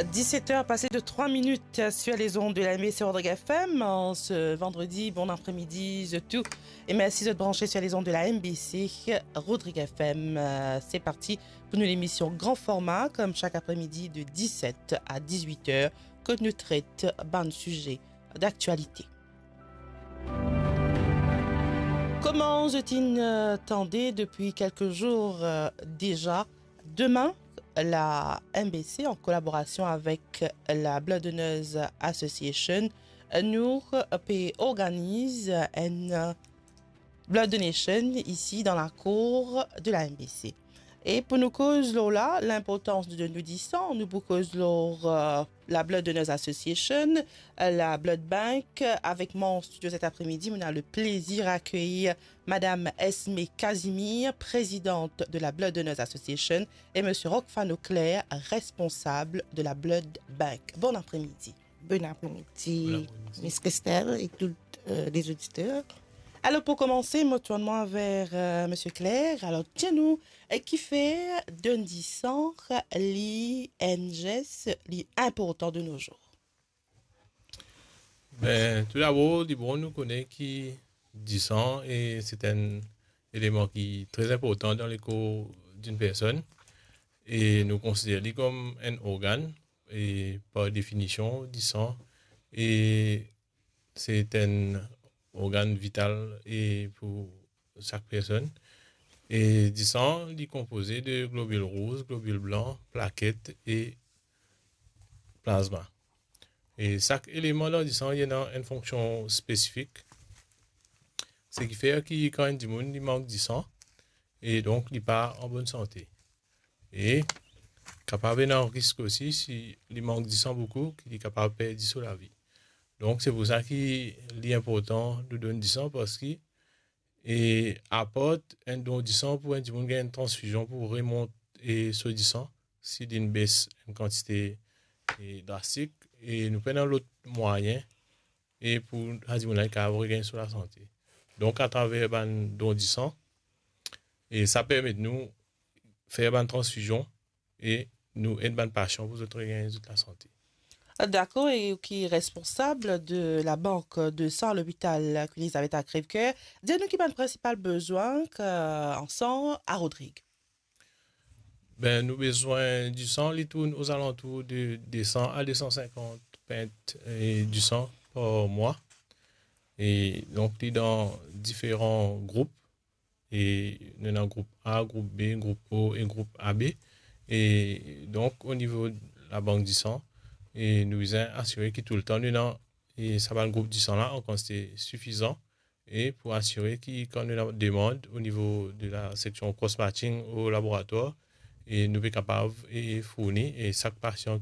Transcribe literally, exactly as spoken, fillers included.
Dix-sept heures passées de trois minutes sur les ondes de la M B C Rodrigues F M en ce vendredi. Bon après-midi, zot tou. E mersi zot branche sur les ondes de la M B C Rodrigues F M. Euh, c'est parti pour nou lemision Grand Format, comme chaque après-midi de dix-sept à dix-huit heures, kot nou tret bann size d'aktialite. Kouma zot inn, euh, tande depi kelke zour, euh, deza, demin, la M B C, an kolaborasion avek la Blood Donors Association, nou pe organiz enn, euh, blood donation isi dan lakour de la M B C. E pou nou koz lor la, linportans de donn disan, nou pou koz lor, euh, la Blood Donors Association, euh, la Blood Bank. Avek mwa an studio cet après-midi, mo ena le plezir akeyir Madame Esme Casimir, présidente de la Blood Donors Association, et Monsieur Rockfano Claire, responsable de la Blood Bank. Bon après-midi. Bon après-midi, Miss Christelle et tous, euh, les auditeurs. Alor, pou koumanse, mo tourn mwa ver, euh, Monsieur Claire. Alor, dir nou, euh, kifer donn disan li enn zes li inportan de nos jours? Ben, toudabor, li bon nou kone ki disan, e se enn eleman ki tre inportan dan lekor dinn personn, e nou konsider li kom enn organ, e par definision, disan, e se enn organ vital, e pou sak personn. E disan, li konpoze de globil rouz, globil blan, plaket e plazma. E sak eleman dan disan, li ena enn fonksion spesifik. Seki fer ki kan enn dimoun, li mank disan, e donk li pa an bonn sante. E kapav ena risk osi, si li mank disan boukou, ki li kapav perdi so lavi. Donk, se pou sa ki li inportan nou donn disan, parski, e apart enn don disan pou enn dimoun gagn enn transfizion pou remont, e so disan, si linn bes enn kantite, e drastik, e nou pena lot mwayin, e pou sa dimoun la, li kapav regagn so lasante. Donk, atraver bann don disan, e sa permet nou fer bann transfizion, e nou ed bann pasian pou zot regagn zot lasante. Dakor, e ou ki responsab de la bank de san lopital Queen Elizabeth a Crèvecoeur, dir nou ki bann prinsipal bezwin ki, euh, an san a Rodrig? Ben, nou bezwin disan, li tourn ozalantour de de san a de san sinkant pint, e, disan par mwa. E donk, li dan diferan group. E nou ena group A, group B, group O e group A B. E donk, o nivo labank disan, e nou bizin asire ki toultan nou ena, e sa bann group disan la an kantite sifizan, e pou asire ki kan nou ena demann o nivo de la seksion cross-matching o laboratwar, e nou pe kapav, e, fourni, e sak pasian